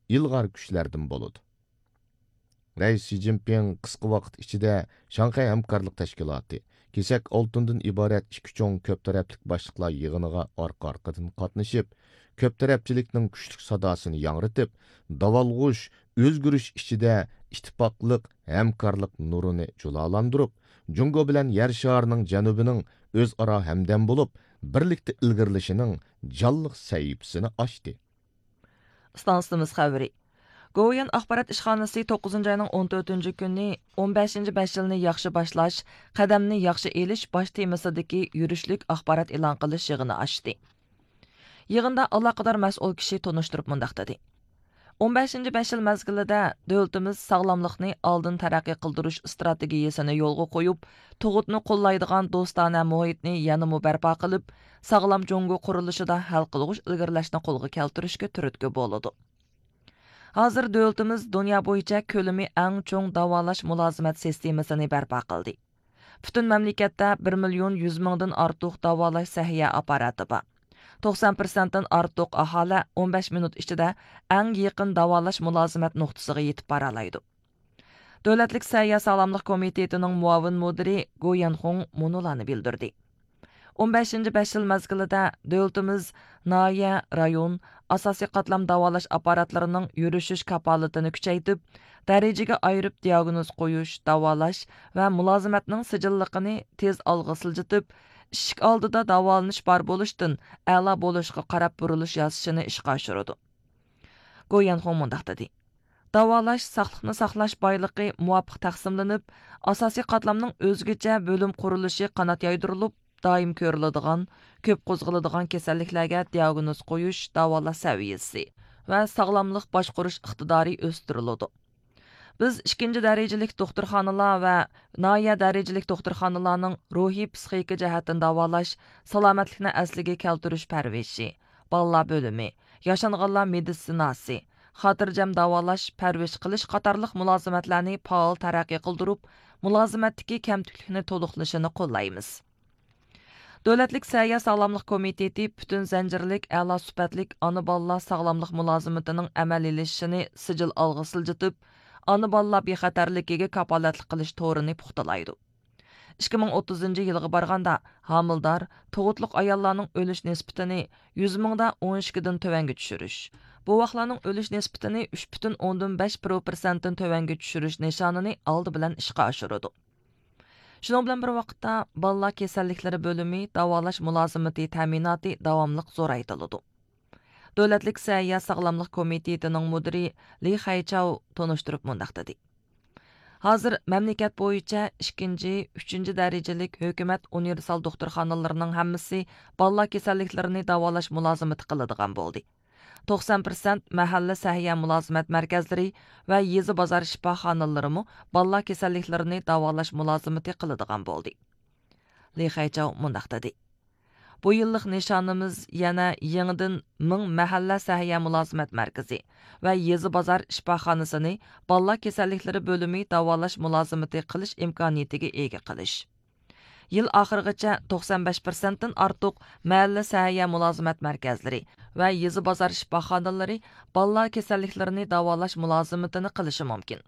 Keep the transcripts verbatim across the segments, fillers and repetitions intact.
ئىلغار كۈچلەردىن بولىدۇ. رەئىس شى جىنپىڭ قىسقا ۋاقىت ئىچىدە شاڭخەي ھەمكارلىق تەشكىلاتى، كېسەك ئالتۇندىن ئىبارەت ئىككى چوڭ كۆپ تەرەپلىك باشلىقلار يىغىنىغا ئارقا-ئارقىدىن قاتنىشىپ، كۆپ تەرەپچىلىكنىڭ كۈچلۈك ساداسىنى ياڭرىتىپ، داۋالغۇش، ئۆزگىرىش ئىچىدە ئىتتىپاقلىق، ھەمكارلىق نۇرىنى جۇلالاندۇرۇپ، جۇڭگو بىلەن يەر شارىنىڭ جەنۇبىنىڭ ئۆزئارا ھەمدەم بولۇپ، بىرلىكتە ئىلگىرىلىشىنىڭ جانلىق سەھىپىسىنى ئاچتى. ئىستانسىمىز خەۋىرى. گوۋۇيۈەن ئاخبارات ئىشخانىسى توققۇزىنچى ئاينىڭ ئون تۆتىنچى كۈنى ئون بەشىنچى بەش يىلنى ياخشى باشلاش، قەدەمنى ياخشى ئېلىش باش تېمىسىدىكى يۈرۈشلۈك ئاخبارات ئېلان قىلىش يىغىنى ئاچتى. يىغىندا ئالاقىدار مەسئۇل كىشى تونۇشتۇرۇپ مۇنداق دېدى: ئون بەشىنچى بەش يىل مەزگىلىدە دۆلىتىمىز ساغلاملىقنى ئالدىن تەرەققىي قىلدۇرۇش ئىستراتېگىيىسىنى يولغا قويۇپ، تۇغۇتنى قوللايدىغان دوستانە مۇھىتنى يەنىمۇ بەرپا قىلىپ، ساغلام جۇڭگو قۇرۇلۇشىدا ھەل قىلغۇچ ئىلگىرىلەشنى قولغا كەلتۈرۈشكە تۈرتكە بولىدۇ. ھازىر دۆلىتىمىز دۇنيا بويىچە كۆلىمى ئەڭ چوڭ داۋالاش مۇلازىمەت سىستېمىسىنى بەرپا قىلدى. پۈتۈن مەملىكەتتە بىر مىليون يۈز مىڭدىن ئارتۇق داۋالاش سەھىيە ئاپپاراتى بار. توقسان پىرسەنتتىن ئارتۇق ئاھالە ئون بەش مىنۇت ئىچىدە ئەڭ يېقىن داۋالاش مۇلازىمەت نۇقتىسىغا يېتىپ بارالايدۇ. دۆلەتلىك سەھىيە ساغلاملىق كومىتېتىنىڭ مۇئاۋىن مۇدىرى گو يەنخۇڭ مۇنۇلارنى بىلدۈردى: ئون بەشىنچى بەش يىل مەزگىلىدە دۆلىتىمىز ناھىيە، رايون، ئاساسىي قاتلام داۋالاش ئاپپاراتلىرىنىڭ يۈرۈشۈش كاپالىتىنى كۈچەيتىپ، دەرىجىگە ئايرىپ دىئاگنوز قويۇش، داۋالاش ۋە مۇلازىمەتنىڭ سىجىللىقىنى تېز ئالغا سىلجىتىپ، ئىشىك ئالدىدا داۋالىنىش بار بولۇشتىن ئەلا بولۇشقا قاراپ بۇرۇلۇش ياسىشىنى ئىشقا ئاشۇرىدۇ. گو يەنخۇڭ مۇنداق دېدى: داۋالاش، ساقلىقنى ساقلاش بايلىقى مۇۋاپىق تەقسىملىنىپ، ئاساسىي قاتلامنىڭ ئۆزگىچە بۆلۈم قۇرۇلۇشى قانات يايدۇرۇلۇپ، دائىم كۆرۈلىدىغان، كۆپ قوزغىلىدىغان كېسەللىكلەرگە دىئاگنوز قويۇش، داۋالاش سەۋىيەسى ۋە ساغلاملىق باشقۇرۇش ئىقتىدارى ئۆستۈرۈلىدۇ. بىز ئىككىنچى دەرىجىلىك دوختۇرخانىلار ۋە ناھىيە دەرىجىلىك دوختۇرخانىلارنىڭ روھىي پسىخىكا جەھەتتىن داۋالاش، سالامەتلىكنى ئەسلىگە كەلتۈرۈش پەرۋىشى، بالىلار بۆلۈمى، ياشانغانلار مېدىتسىناسى، خاتىرجەم داۋالاش، پەرۋىش قىلىش قاتارلىق مۇلازىمەتلەرنى پائال تەرەققىي قىلدۇرۇپ، مۇلازىمەتتىكى كەمتۈكلۈكنى تولۇقلىشىنى قوللايمىز. دۆلەتلىك سەھىيە ساغلاملىق كومىتېتى پۈتۈن زەنجىرلىك ئەلا سۈپەتلىك ئانا بالىلار ساغلاملىق مۇلازىمىتىنىڭ ئەمەلىيلىشىشىنى سىجىل ئالغا سىلجىتىپ، ئانا بالىلار بىخەتەرلىكىگە كاپالەتلىك قىلىش تورىنى پۇختىلايدۇ. ئىككى مىڭ ئوتتۇزىنچى يىلغا بارغاندا، ھامىلىدار، تۇغۇتلۇق ئاياللارنىڭ ئۆلۈش نىسبىتىنى يۈز مىڭدا ئون ئىككىدىن تۆۋەنگە چۈشۈرۈش، بوۋاقلارنىڭ ئۆلۈش نىسبىتىنى ئۈچ پۈتۈن ئوندىن بەش پىرسەنتتىن تۆۋەنگە چۈشۈرۈش نىشانىنى ئالدى بىلەن ئىشقا ئاشۇرىدۇ. شۇنىڭ بىلەن بىر ۋاقىتتا، بالىلار كېسەللىكلىرى بۆلۈمى داۋالاش مۇلازىمىتى تەمىناتى داۋاملىق زورايتىلىدۇ. دۆلەتلىك سەھىيە ساغلاملىق كومىتېتىنىڭ مۇدىرى لى خەيچاۋ تونۇشتۇرۇپ مۇنداق دېدى: ھازىر مەملىكەت بويىچە ئىككىنچى، ئۈچىنچى دەرىجىلىك ھۆكۈمەت ئۇنىۋېرسال دوختۇرخانىلىرىنىڭ ھەممىسى بالىلار كېسەللىكلىرىنى داۋالاش مۇلازىمىتى قىلىدىغان بولدى. توقسان پىرسەنت مەھەللە سەھىيە مۇلازىمەت مەركەزلىرى ۋە يېزا بازار شىپاخانىلىرىمۇ بالىلار كېسەللىكلىرىنى داۋالاش مۇلازىمىتى قىلىدىغان بولدى. لى خەيچاۋ مۇنداق دېدى: بۇ يىللىق نىشانىمىز يەنە يېڭىدىن مىڭ مەھەللە سەھىيە مۇلازىمەت مەركىزى ۋە يېزا بازار شىپاخانىسىنى بالىلار كېسەللىكلىرى بۆلۈمى داۋالاش مۇلازىمىتى قىلىش ئىمكانىيىتىگە ئىگە قىلىش. يىل ئاخىرىغىچە توقسان بەش پىرسەنتتىن ئارتۇق مەھەللە سەھىيە مۇلازىمەت مەركەزلىرى ۋە يېزا بازار شىپاخانىلىرى بالىلار كېسەللىكلىرىنى داۋالاش مۇلازىمىتىنى قىلىشى مۇمكىن.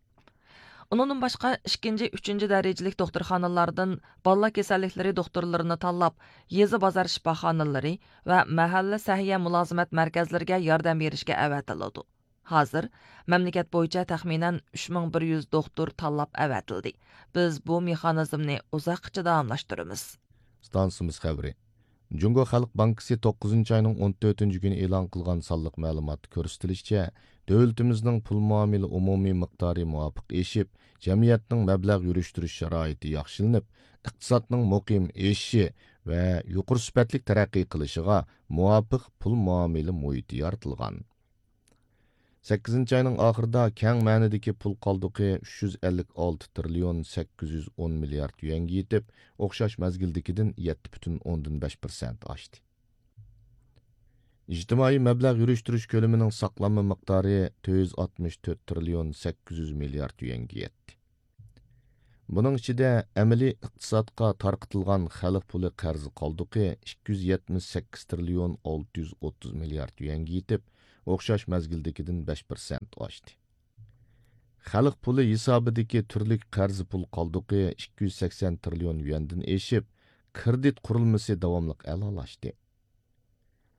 ئۇنىڭدىن باشقا، ئىككىنچى، ئۈچىنچى دەرىجىلىك دوختۇرخانىلاردىن بالىلار كېسەللىكلىرى دوختۇرلىرىنى تاللاپ، يېزا بازار شىپاخانىلىرى ۋە مەھەللە سەھىيە مۇلازىمەت مەركەزلىرىگە ياردەم بېرىشكە ئەۋەتىلىدۇ. ھازىر مەملىكەت بويىچە تەخمىنەن ئۈچ مىڭ بىر يۈز دوختۇر تاللاپ ئەۋەتىلدى. بىز بۇ مېخانىزمنى ئۇزاققىچە داۋاملاشتۇرىمىز. ئىستانسىمىز خەۋىرى. جۇڭگو خەلق بانكىسى توققۇزىنچى ئاينىڭ ئون تۆتىنچى كۈنى ئېلان قىلغان سانلىق مەلۇماتتا كۆرسىتىلىشىچە، دۆلىتىمىزنىڭ پۇل مۇئامىلە ئومۇمىي مىقدارى مۇۋاپىق ئېشىپ، جەمئىيەتنىڭ مەبلەغ يۈرۈشتۈرۈش شارائىتى ياخشىلىنىپ، ئىقتىسادنىڭ مۇقىم ئېشىشى ۋە يۇقىرى سۈپەتلىك تەرەققىي قىلىشىغا مۇۋاپىق پۇل مۇئامىلە مۇھىتى يارىتىلغان. سەككىزىنچى ئاينىڭ ئاخىرىدا كەڭ مەنىدىكى پۇل قالدۇقى ئۈچ يۈز ئەللىك ئالتە تىرىليون سەككىز يۈز ئون مىليارد يۈەنگە يېتىپ، ئوخشاش مەزگىلدىكىدىن يەتتە پۈتۈن ئوندىن بەش پىرسەنت ئاشتى. ئىجتىمائىي مەبلەغ يۈرۈشتۈرۈش كۆلىمىنىڭ ساقلانما مىقدارى تۆت يۈز ئاتمىش تۆت تىرىليون سەككىز يۈز مىليارد يۈەنگە يەتتى. بۇنىڭ ئىچىدە ئەمەلىي ئىقتىسادقا تارقىتىلغان خەلق پۇلى قەرز قالدۇقى ئىككى يۈز يەتمىش سەككىز تىرىليون ئالتە يۈز ئوتتۇز مىليارد يۈەنگە يېتىپ، ئوخشاش مەزگىلدىكىدىن بەش پىرسەنت ئاشتى. خەلق پۇلى ھېسابىدىكى تۈرلۈك قەرز پۇل قالدۇقى ئىككى يۈز سەكسەن تىرىليون يۈەندىن ئېشىپ، كىرېدىت قۇرۇلمىسى داۋاملىق ئەلالاشتى.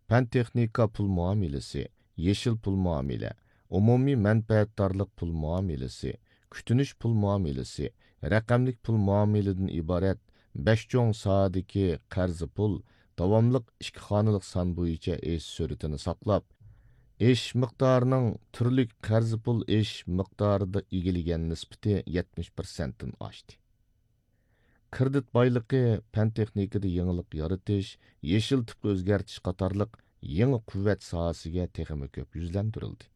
پەن تېخنىكا پۇل مۇئامىلىسى، يېشىل پۇل مۇئامىلە، ئومۇمىي مەنپەئەتدارلىق پۇل مۇئامىلىسى، كۈتۈنۈش پۇل مۇئامىلىسى، رەقەملىك پۇل مۇئامىلىدىن ئىبارەت بەش چوڭ ساھەدىكى قەرز پۇل داۋاملىق ئىككى خانىلىق سان بويىچە ئېشىش سۈرئىتىنى ساقلاپ، ئېشىش مىقدارىنىڭ تۈرلۈك قەرز پۇل ئېشىش مىقدارىدا ئىگىلىگەن نىسبىتى يەتمىش پىرسەنتتىن ئاشتى. كىرېدىت بايلىقى، پەن تېخنىكىدا يېڭىلىق يارىتىش، يېشىل تىپقا ئۆزگەرتىش قاتارلىق يېڭى قۇۋۋەت ساھەسىگە تېخىمۇ كۆپ يۈزلەندۈرۈلدى.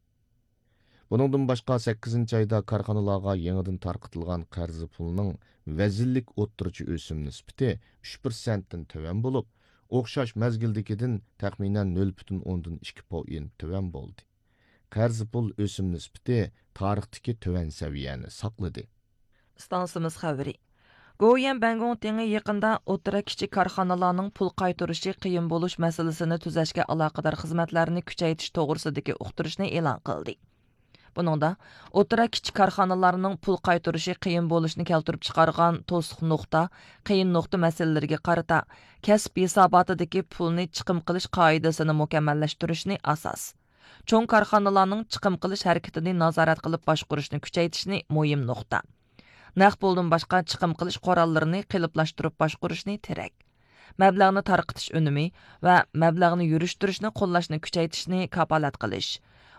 بۇنىڭدىن باشقا، سەككىزىنچى ئايدا كارخانىلارغا يېڭىدىن تارقىتىلغان قەرز پۇلنىڭ ۋەزىنلىك ئوتتۇرىچە ئۆسۈم نىسبىتى ئۈچ پىرسەنتتىن تۆۋەن بولۇپ، ئوخشاش مەزگىلدىكىدىن تەخمىنەن نۆل پۈتۈن ئوندىن ئىككى پوئېنت تۆۋەن بولدى. قەرز پۇل ئۆسۈم نىسبىتى تارىختىكى تۆۋەن سەۋىيەنى ساقلىدى. ئىستانسىمىز خەۋىرى. گوۋۇيۈەن بەنگوڭتىڭى يېقىندا ئوتتۇرا، كىچىك كارخانىلارنىڭ پۇل قايتۇرۇشى قىيىن بولۇش مەسىلىسىنى تۈزەشكە ئالاقىدار خىزمەتلەرنى كۈچەيتىش توغرىسىدىكى ئۇقتۇرۇشنى ئېلان قىلدى. بۇنىڭدا ئوتتۇرا، كىچىك كارخانىلارنىڭ پۇل قايتۇرۇشى قىيىن بولۇشىنى كەلتۈرۈپ چىقارغان توسۇق نۇقتا، قىيىن نۇقتا مەسىلىلىرىگە قارىتا، كەسىپ ھېساباتىدىكى پۇلنى چىقىم قىلىش قائىدىسىنى مۇكەممەللەشتۈرۈشنى ئاساس، چوڭ كارخانىلارنىڭ چىقىم قىلىش ھەرىكىتىنى نازارەت قىلىپ باشقۇرۇشنى كۈچەيتىشنى مۇھىم نۇقتا، نەق پۇلدىن باشقا چىقىم قىلىش قوراللىرىنى قېلىپلاشتۇرۇپ باشقۇرۇشنى تىرەك، مەبلەغنى تارقىتىش ئۈنۈمى ۋە مەبلەغنى يۈرۈشتۈرۈشنى قوللاشنى كۈچەيتىشنى كاپالەت قىلىش،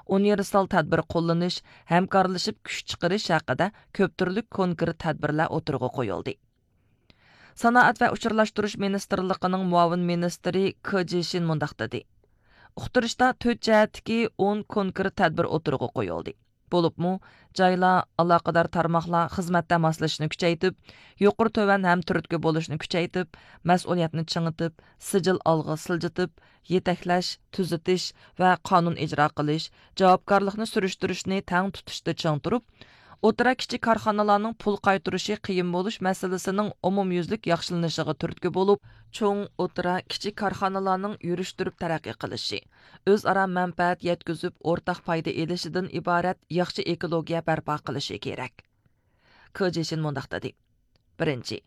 ئۇنىۋېرسال تەدبىر قوللىنىش، ھەمكارلىشىپ كۈچ چىقىرىش ھەققىدە كۆپ تۈرلۈك كونكرېت تەدبىرلەر ئوتتۇرىغا قويۇلدى. سانائەت ۋە ئۇچۇرلاشتۇرۇش مىنىستىرلىقىنىڭ مۇئاۋىن مىنىستىرى كې جىشىن مۇنداق دېدى: ئۇقتۇرۇشتا تۆت جەھەتتىكى ئون كونكرېت تەدبىر ئوتتۇرىغا قويۇلدى. بولۇپمۇ، جايلار، ئالاقىدار تارماقلار خىزمەتتە ماسلىشىشنى كۈچەيتىپ، يۇقىرى تۆۋەن ھەم تۈرتكە بولۇشنى كۈچەيتىپ، مەسئۇلىيەتنى چىڭىتىپ، سىجىل ئالغا سىلجىتىپ، يېتەكلەش، تۈزىتىش ۋە قانۇن ئىجرا قىلىش، جاۋابكارلىقنى سۈرۈشتۈرۈشنى تەڭ تۇتۇشتا چىڭ تۇرۇپ، ئوتتۇرا، كىچىك كارخانىلارنىڭ پۇل قايتۇرۇشى قىيىن بولۇش مەسىلىسىنىڭ ئومۇميۈزلۈك ياخشىلىنىشىغا تۈرتكە بولۇپ، چوڭ، ئوتتۇرا، كىچىك كارخانىلارنىڭ يۈرۈشتۈرۈپ تەرەققىي قىلىشى، ئۆزئارا مەنپەئەت يەتكۈزۈپ، ئورتاق پايدا ئېلىشىدىن ئىبارەت ياخشى ئېكولوگىيە بەرپا قىلىشى كېرەك. كې جىشىن مۇنداق دېدى: بىرىنچى،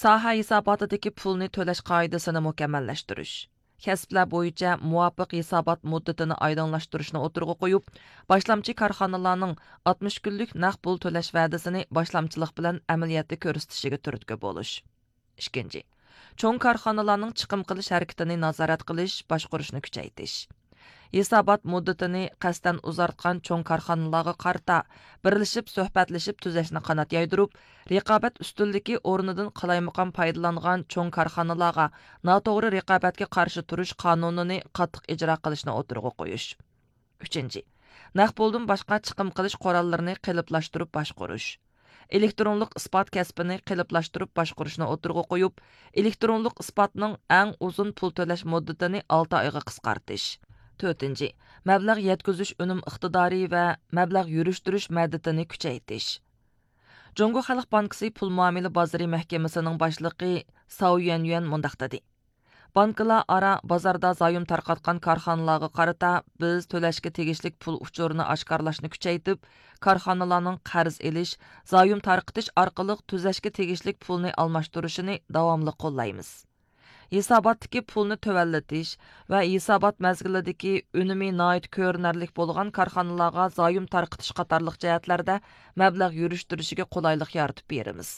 ساھە ھېساباتىدىكى پۇلنى تۆلەش قائىدىسىنى مۇكەممەللەشتۈرۈش، كەسىپلەر بويىچە مۇۋاپىق ھېسابات مۇددىتىنى ئايدىڭلاشتۇرۇشنى ئوتتۇرىغا قويۇپ، باشلامچى كارخانىلارنىڭ ئاتمىش كۈنلۈك نەق پۇل تۆلەش ۋەدىسىنى باشلامچىلىق بىلەن ئەمەلىيەتتە كۆرسىتىشىگە تۈرتكە بولۇش. ئىككىنچى، چوڭ كارخانىلارنىڭ چىقىم قىلىش ھەرىكىتىنى نازارەت قىلىش، باشقۇرۇشنى كۈچەيتىش. ھېسابات مۇددىتىنى قەستەن ئۇزارتقان چوڭ كارخانىلارغا قارىتا بىرلىشىپ سۆھبەتلىشىپ تۈزەشنى قانات يايدۇرۇپ، رىقابەت ئۈستۈنلۈكى ئورنىدىن قالايمىقان پايدىلانغان چوڭ كارخانىلارغا ناتوغرا رىقابەتكە قارشى تۇرۇش قانۇنىنى قاتتىق ئىجرا قىلىشنى ئوتتۇرىغا قويۇش. ئۈچىنچى، نەق پۇلدىن باشقا چىقىم قىلىش قوراللىرىنى قېلىپلاشتۇرۇپ باشقۇرۇش. ئېلېكترونلۇق ئىسپات كەسپىنى قېلىپلاشتۇرۇپ باشقۇرۇشنى ئوتتۇرىغا قويۇپ، ئېلېكترونلۇق ئىسپاتنىڭ ئەڭ ئۇزۇن پۇل تۆلەش مۇددىتىنى ئالتە ئايغا قىسقارتىش. تۆتىنچى، مەبلەغ يەتكۈزۈش ئۈنۈم ئىقتىدارى ۋە مەبلەغ يۈرۈشتۈرۈش مەدىتىنى كۈچەيتىش. جۇڭگو خەلق بانكىسى پۇل مۇئامىلە بازىرى مەھكىمىسىنىڭ باشلىقى ساۋ يۈەنيۈەن مۇنداق دېدى: بانكىلار ئارا بازاردا زايوم تارقاتقان كارخانىلارغا قارىتا بىز تۆلەشكە تېگىشلىك پۇل ئۇچۇرىنى ئاشكارىلاشنى كۈچەيتىپ، كارخانىلارنىڭ قەرز ئېلىش، زايوم تارقىتىش ئارقىلىق تۈزەشكە تېگىشلىك پۇلنى ئالماشتۇرۇشىنى داۋاملىق قوللايمىز. ھېساباتتىكى پۇلنى تۆۋەنلىتىش ۋە ھېسابات مەزگىلىدىكى ئۈنۈمى ناھايىتى كۆرۈنەرلىك بولغان كارخانىلارغا زايوم تارقىتىش قاتارلىق جەھەتلەردە مەبلەغ يۈرۈشتۈرۈشىگە قولايلىق يارىتىپ بېرىمىز.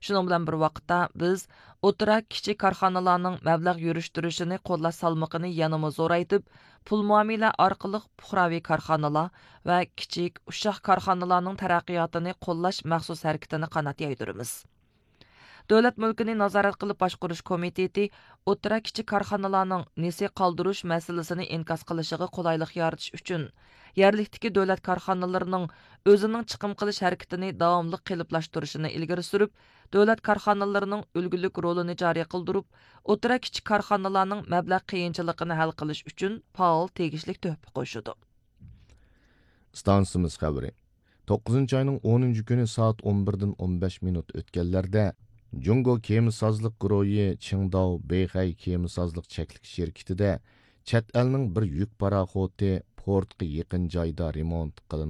شۇنىڭ بىلەن بىر ۋاقىتتا، بىز ئوتتۇرا، كىچىك كارخانىلارنىڭ مەبلەغ يۈرۈشتۈرۈشىنى قوللاش سالمىقىنى يەنىمۇ زورايتىپ، پۇل مۇئامىلە ئارقىلىق پۇقراۋى كارخانىلار ۋە كىچىك، ئۇششاق كارخانىلارنىڭ تەرەققىياتىنى قوللاش مەخسۇس ھەرىكىتىنى قانات يايدۇرىمىز. دۆلەت مۈلكىنى نازارەت قىلىپ باشقۇرۇش كومىتېتى ئوتتۇرا، كىچىك كارخانىلارنىڭ نېسى قالدۇرۇش مەسىلىسىنى ئىنكاس قىلىشىغا قولايلىق يارىتىش ئۈچۈن، يەرلىكتىكى دۆلەت كارخانىلىرىنىڭ ئۆزىنىڭ چىقىم قىلىش ھەرىكىتىنى داۋاملىق قېلىپلاشتۇرۇشىنى ئىلگىرى سۈرۈپ، دۆلەت كارخانىلىرىنىڭ ئۈلگىلىك رولىنى جارى قىلدۇرۇپ، ئوتتۇرا، كىچىك كارخانىلارنىڭ مەبلەغ قىيىنچىلىقىنى ھەل قىلىش ئۈچۈن پائال تېگىشلىك تۆھپە قوشىدۇ. ئىستانسىمىز خەۋىرى. توققۇزىنچى ئاينىڭ ئونىنچى كۈنى سائەت ئون بىردىن ئون بەش مىنۇت ئۆتكەنلەردە، جۇڭگو كېمىسازلىق گۇرۇھى چىڭداۋ بېيخەي كېمىسازلىق چەكلىك شىركىتىدە چەت ئەلنىڭ بىر يۈك پاراخوتى پورتقا يېقىن جايدا رېمونت قىلىنغان.